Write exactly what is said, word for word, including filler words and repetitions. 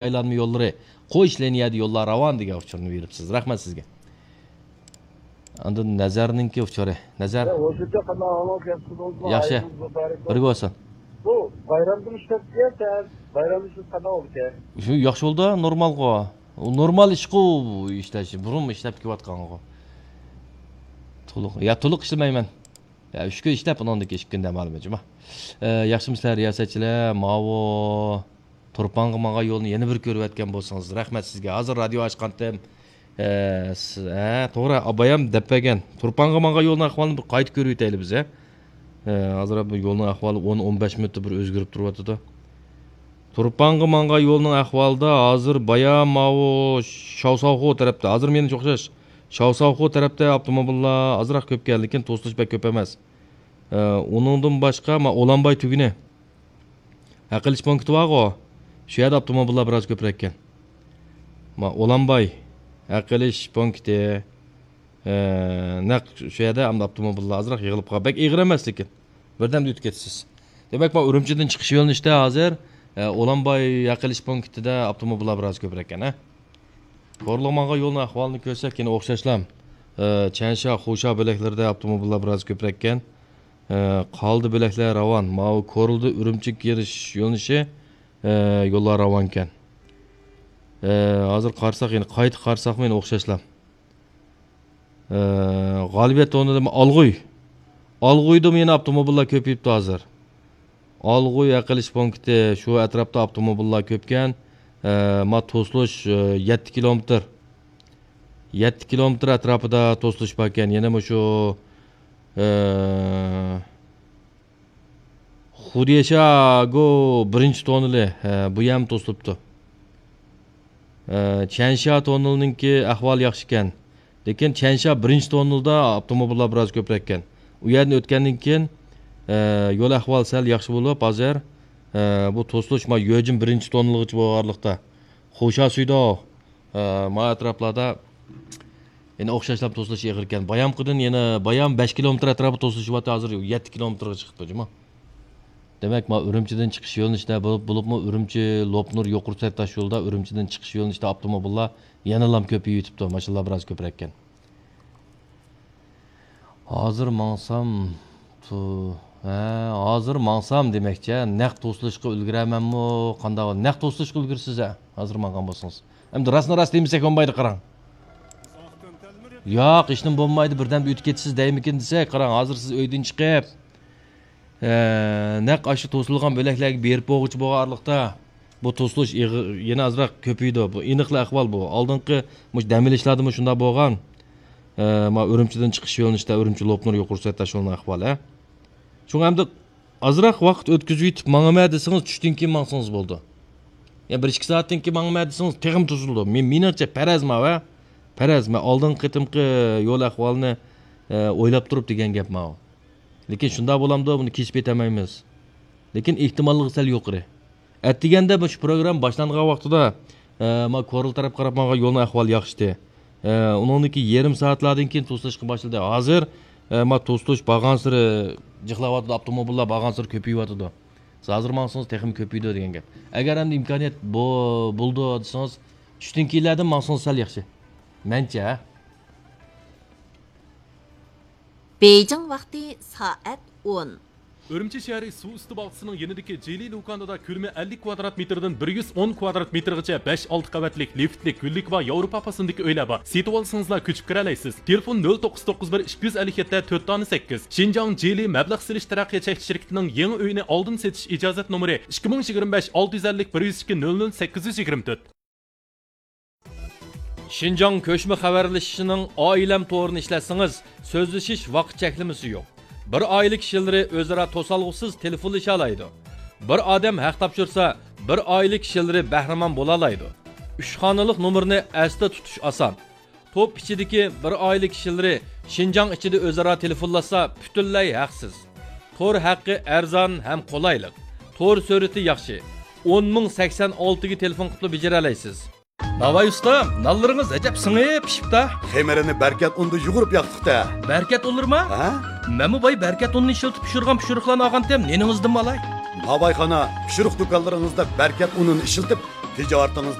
ئايلانما يوللىرى، قويۇش لىنىيەدە يوللار راۋان دېگەن ئۇچۇرنى بېرىپسىز. رەھمەت سىزگە. ئاندىن نەزەرنىڭكى ئۇچۇرى. نەزەر. يا، ھوشۇمچە قانداق ئەھۋال، ياخشى بولدىڭىزمۇ؟ ياخشى. ئايىمىز مۇبارەك بولسۇن. بىرگە بولسۇن. بۇ بايرامدىن ئىشلەپ كەلسە، بايرامدا ئىشلەپ قانداق بولىدىكەن؟ شۇ ياخشى بولدى، نورمالغۇ. ئۇ نورمال ئىشقۇ ئىشلەش، بۇرۇن ئىشلەپ كېلىۋاتقانغۇ. تولۇق، يا تولۇق ئىشلىمەيمەن. يا ئۈچ كۈن ئىشلەپ، ئۇنىڭدىن كېيىن ئىككى كۈن دەم ئالىمەن، جۇما. ئە، ياخشىمۇسىلەر رىياسەتچىلەر؟ ماۋۇ تۇرپانغا ماڭغان يولنى يەنە بىر كۆرۈۋەتكەن بولسىڭىز، رەھمەت سىزگە. ھازىر رادىيو ئاچقانتىم. ئە، س-، ھە، توغرا، ئابايام دەپ بەرگەن. تۇرپانغا ماڭغان يولنىڭ ئەھۋالىنى بىر قايتا كۆرۈۋېتەيلى بىز، ھە. ئە، ھازىر بۇ يولنىڭ ئەھۋالى ئون، ئون بەش مىنۇتتا بىر ئۆزگىرىپ تۇرۇۋاتىدۇ. تۇرپانغا ماڭغان يولنىڭ ئەھۋالىدا ھازىر بايا ماۋۇ شاۋساۋخۇ تەرەپتە، ھازىر مېنىڭچە ئوخشاش، شاۋساۋخۇ تەرەپتە ئاپتوموبىللار ئازراق كۆپكەن، لېكىن توسۇلۇش بەك كۆپ ئەمەس. ئە، ئۇنىڭدىن باشقا، ما، ئولانباي تۈگۈنى ھەق ئېلىش پونكىتى بارغۇ، شۇ يەردە ئاپتوموبىللار بىراز كۆپرەككەن. ما، ئولانباي ھەق ئېلىش پونكىتى، ئە، نەق شۇ يەردە ئەمدى ئاپتوموبىللار ئازراق يىغىلىپ قالغان. بەك ئېغىر ئەمەس، لېكىن بىردەمدە ئۆتۈپ كېتىسىز. دېمەك، ما، ئۈرۈمچىدىن چىقىش يۆنىلىشتە ھازىر، ئە، ئولانباي ھەق ئېلىش پونكىتىدا ئاپتوموبىللار بىراز كۆپرەككەن، ھە؟ كورلىغا ماڭغان يولنىڭ ئەھۋالىنى كۆرسەك، يەنە ئوخشاشلا، ئە، چەنشا، خۇشا بۆلەكلىرىدە ئاپتوموبىللار بىراز كۆپرەككەن. ئە، قالدى بۆلەكلەر راۋان. ماۋۇ كورلىدا ئۈرۈمچىگە كىرىش يۆنىلىشى، ئە، يوللار راۋانكەن. ئە، ھازىر قارىساق، يەنە قايتا قارىساقمۇ يەنە ئوخشاشلا. ئە، غالىبىيەت تونىدىمۇ ئالغۇي. ئالغۇيدىمۇ يەنە ئاپتوموبىللار كۆپىيىپتۇ ھازىر. ئالغۇي ھەق ئېلىش پونكىتى، شۇ ئەتراپتا ئاپتوموبىللار كۆپكەن. ئە، ما توسۇلۇش، ئە، يەتتە كىلومېتىر. يەتتە كىلومېتىر ئەتراپىدا توسۇلۇش باركەن. يەنە مۇشۇ، ئە، خۇديەشاگو بىرىنچى توننىلى، ھە، بۇ يەرمۇ توسۇلۇپتۇ. ھە، چيەنشيا توننېلىنىڭكى ئەھۋالى ياخشىكەن. لېكىن چيەنشيا بىرىنچى توننېلدا ئاپتوموبىللار بىراز كۆپرەككەن. ئۇ يەردىن ئۆتكەندىن كېيىن، ھە، يول ئەھۋالى سەل ياخشى بولۇپ، ھازىر، ھە، بۇ توسۇلۇش ما يۆجىن بىرىنچى توننېلىغىچە بولغانلىقتا، خوشا سۈيدو، ئە، ما ئەتراپلاردا يەنە ئوخشاشلا توسۇلۇش ئېغىركەن. بايامقىدىن يەنە، بايام بەش كىلومېتىر ئەتراپىدا توسۇلۇشۇۋاتتى، ھازىر يەتتە كىلومېتىرغا چىقىپتۇ، جۇما. دېمەك، ما ئۈرۈمچىدىن چىقىش يۆنىلىشىدە بولۇپ، بولۇپمۇ ئۈرۈمچى لوپنۇر يۇقىرى سۈرئەت تاش يولىدا ئۈرۈمچىدىن چىقىش يۆنىلىشىدە ئاپتوموبىللار يەنىلا كۆپىيىۋېتىپتۇ، ماشىنىلار بىراز كۆپرەككەن. ھازىر ماڭسام، تۇ-، ھە، ھازىر ماڭسام دېمەكچى، نەق توسۇلۇشقا ئۈلگۈرەرمەنمۇ؟ قانداق؟ نەق توسۇلۇشقا ئۈلگۈرىسىز، ھە، ھازىر ماڭغان بولسىڭىز. ئەمدى راستنى راست دېمىسەك بولمايدۇ، قاراڭ. ياق، ھېچنېمە بولمايدۇ، بىردەمدە ئۆتۈپ كېتىسىز دەيمىكىن دېسەك، قاراڭ، ھازىر سىز ئۆيدىن چىقىپ، ئە، نەق ئاشۇ توسۇلغان بۆلەكلەرگە بېرىپ بولغۇچە بولغان ئارىلىقتا، بۇ توسۇلۇش ئېغىر، يەنە ئازراق كۆپىيىدۇ. بۇ ئېنىقلا ئەھۋال بۇ. ئالدىنقى مۇشۇ دەم ئېلىشلاردىمۇ شۇنداق بولغان. ئە، ما ئۈرۈمچىدىن چىقىش يۆنىلىشىدە ئۈرۈمچى لوپنۇر يۇقىرى سۈرئەت تاش يولىنىڭ ئەھۋالى، ھە. شۇڭا ئەمدى ئازراق ۋاقىت ئۆتكۈزۈۋېتىپ ماڭىمەن دېسىڭىز، چۈشتىن كېيىن ماڭسىڭىز بولىدۇ. يا بىر ئىككى سائەتتىن كېيىن ماڭىمەن دېسىڭىز، تېخىمۇ توسۇلىدۇ. مېنىڭچە پەرەز ماۋۇ، ھە. پەرەز، مەن ئالدىنقى قېتىمقى يول ئەھۋالىنى، ئە، ئويلاپ تۇرۇپ دېگەن گەپ ماۋۇ. لېكىن شۇنداق بولامدۇ، بۇنى كېسىپ يېتەلمەيمىز. لېكىن ئېھتىماللىقى سەل يۇقىرى. ئەتىگەندە مۇشۇ پروگرامما باشلانغان ۋاقتىدا، ئە، ما كورلا تەرەپ قاراپ ماڭغان يولنىڭ ئەھۋالى ياخشىتى. ئە، ئۇنىڭدىن كېيىن يېرىم سائەتلاردىن كېيىن توسۇلۇشقا باشلىدى. ھازىر، ئە، ما توسۇلۇش بارغانسېرى جىقلاۋاتىدۇ، ئاپتوموبىللار بارغانسېرى كۆپىيىۋاتىدۇ. سىز ھازىر ماڭسىڭىز تېخىمۇ كۆپىيىدۇ دېگەن گەپ. ئەگەر ئەمدى ئىمكانىيەت بو-، بولىدۇ دېسىڭىز، چۈشتىن كېيىنلەردىن ماڭسىڭىز سەل ياخشى. مەنچە، ھە؟ بېيجىڭ ۋاقتى سائەت ئون. ئۈرۈمچى شەھىرى سۇ ئۈستى باغچىسىنىڭ يېنىدىكى جىلى لۇكاندىدا كۆلىمى ئەللىك كۋادرات مېتىردىن بىر يۈز ئون كۋادرات مېتىرغىچە بەش، ئالتە قەۋەتلىك لىفتلىك، گۈللۈك ۋە ياۋروپا پاسسىنىدىكى ئۆيلەر بار. سېتىۋالسىڭىزلا كۆچۈپ كىرەلەيسىز. تېلېفون نۆل توققۇز توققۇز بىر ئىككى يۈز ئەللىك يەتتە تۆت دانە سەككىز. شىنجاڭ جىلى مەبلەغ سېلىش تەرەققىيات چەكلىك شىركىتىنىڭ يېڭى ئۆيىنى ئالدىن سېتىش ئىجازەت نومۇرى ئىككى مىڭ يىگىرمە بەش، ئالتە يۈز ئەللىك، بىر يۈز ئىككى، نۆل نۆل سەككىز يۈز يىگىرمە تۆت. شىنجاڭ كۆچمە خەۋەرلىشىشىنىڭ ئائىلەم تورىنى ئىشلەتسىڭىز، سۆزلىشىش ۋاقىت چەكلىمىسى يوق. بىر ئائىلە كىشىلىرى ئۆزئارا توسالغۇسىز تېلېفونلىشالايدۇ. بىر ئادەم ھەق تاپشۇرسا، بىر ئائىلە كىشىلىرى بەھرىمەن بولالايدۇ. ئۈچ خانىلىق نومۇرنى ئەستە تۇتۇش ئاسان. توپ ئىچىدىكى بىر ئائىلە كىشىلىرى شىنجاڭ ئىچىدە ئۆزئارا تېلېفونلاشسا، پۈتۈنلەي ھەقسىز. تور ھەققى ئەرزان ھەم قولايلىق. تور سۈرئىتى ياخشى. ئون مىڭ سەكسەن ئالتىگە تېلېفون قىپلا بېجىرەلەيسىز. ناۋاي ئۇستا، نانلىرىڭىز ئەجەب سىڭىپ پىشىپتا. خېمىرىنى بەركەت ئۇندا يۇغۇرۇپ ياقتۇق-تە. بەركەت ئۇنلىرىما؟ ھە؟ مەنمۇ باي بەركەت ئۇنىنى ئىشلىتىپ پىشۇرغان پىشۇرۇقلارنى ئالغانتىم، نېنىڭىزدىنمۇ ئالاي. ناۋايخانا، پىشۇرۇق دۇكانلىرىڭىزدا بەركەت ئۇنىنى ئىشلىتىپ، تىجارىتىڭىز